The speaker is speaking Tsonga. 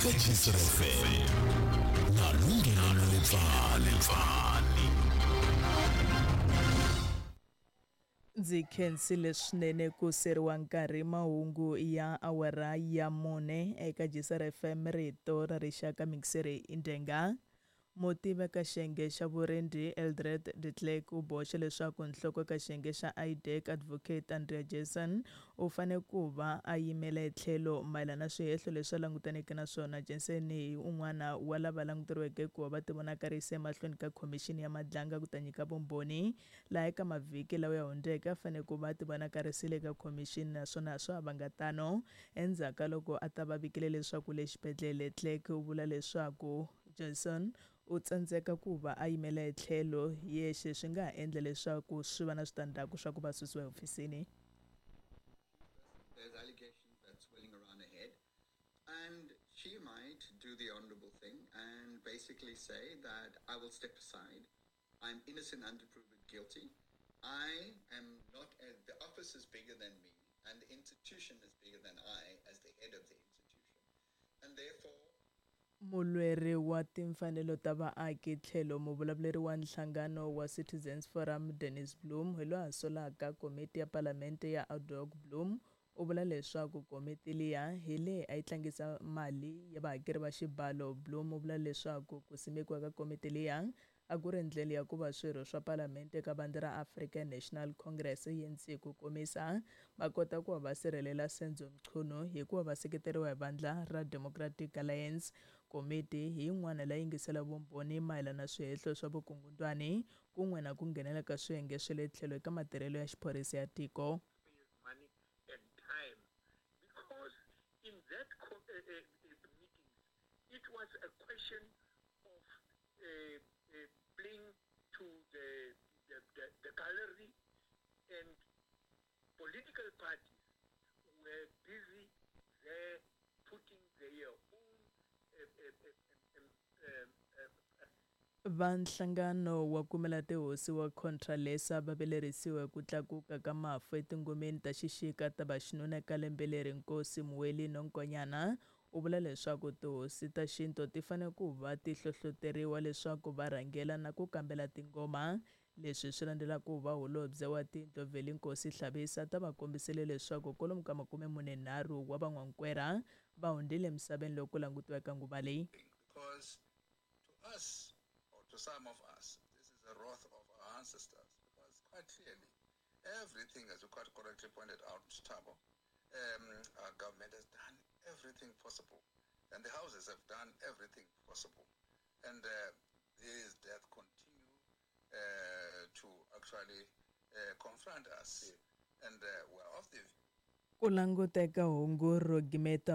Eka Jisr FM na Lunghelo Lepfani. Ndzi khensile swinene ku seriwa nkarhi mahungu ya awara ya mune eka Jisr FM rito ra rixaka mixeri indenga. Mutivi eka xiyenge xa vurindzi Eldred de Klerk u boxe leswaku nhloko eka xiyenge xa IDAC Advocate Andrea Jason u fanele ku va a yimela etlhelo mayelana na swihehlo leswi a langutaneke na swona. Jensen hi un'wana wa lava languteriweke ku va va tivonakarisa emahlweni ka khomixini ya Madlanga ku ta nyika vumbhoni laha eka mavhiki lawa ya hundzeke a fanele ku va a tivonakarisile eka khomixini naswona a swa ha vanga tano endzhaku ka loko a ta va vikile leswaku le xibedhlele. Clerk u vula leswaku Johnson u tsandzeka ku va a yimela etlhelo hi yexe swi nga ha endla leswaku swi va na switandzhaku swa ku va susiwa ehofisini. There's allegations that's swirling around her head, and she might do the honorable thing and basically say that I will step aside. I'm innocent until proven guilty. I am not, the office is bigger than me, and the institution is bigger than I as the head of the institution. And therefore, Mulweri wa timfanelo ta vaaki tlhelo muvulavuleri wa nhlangano wa Citizens Forum Dennis Bloem hi loyi a solaka komiti ya palamente ya ad hoc. Bloem u vula leswaku komiti liya hi leyi a yi tlangisa mali ya vahakeri va xibalo. Bloem u vula leswaku ku simekiwa ka komiti liya a ku ri ndlela ya ku va swirho swa palamente eka vandla ra African National Congress, ANC ku komisa, va kota ku va va sirhelela Senzo Mchunu hi ku va va seketeriwa hi vandla ra Democratic Alliance. Komiti hi yin'wana leyi yingisela vumbhoni mayelana na swihehlo swa vukungundwani kun'we na ku nghenela ka swiyenge swa le tlhelo eka matirhelo ya xiphorisa ya tiko. Money and time, because in that meetings it was a question of playing to the gallery, and political parties were busy there putting their own Va nhlangano wa kumela tihosi wa Contralesa va vilerisiwe ku tlakuka ka mafu etingomeni ta xixika ta vaxinuna eka lembe leri. Nkosi Muweli Nonkonyana u vula leswaku tihosi ta xintu ti fanele ku va ti hlohloteriwa leswaku va rhangela na ku kambela tingoma. Leswi swi landzela ku va holobye wa tindlu Vhelinkosi Hlabisa ta va kombisile leswaku kwalomu ka 43 wa van'wankwera va hundzile emisaveni loko ku langutiwa eka nguva leyi. Because to us, or to some of us, this is a wrath of our ancestors, because quite clearly, everything, as you quite correctly pointed out, Thabo, our government has done everything possible, and the houses have done everything possible. And these deaths continue to actually confront us. And we're of the Ku languteka hungu ro gimeta.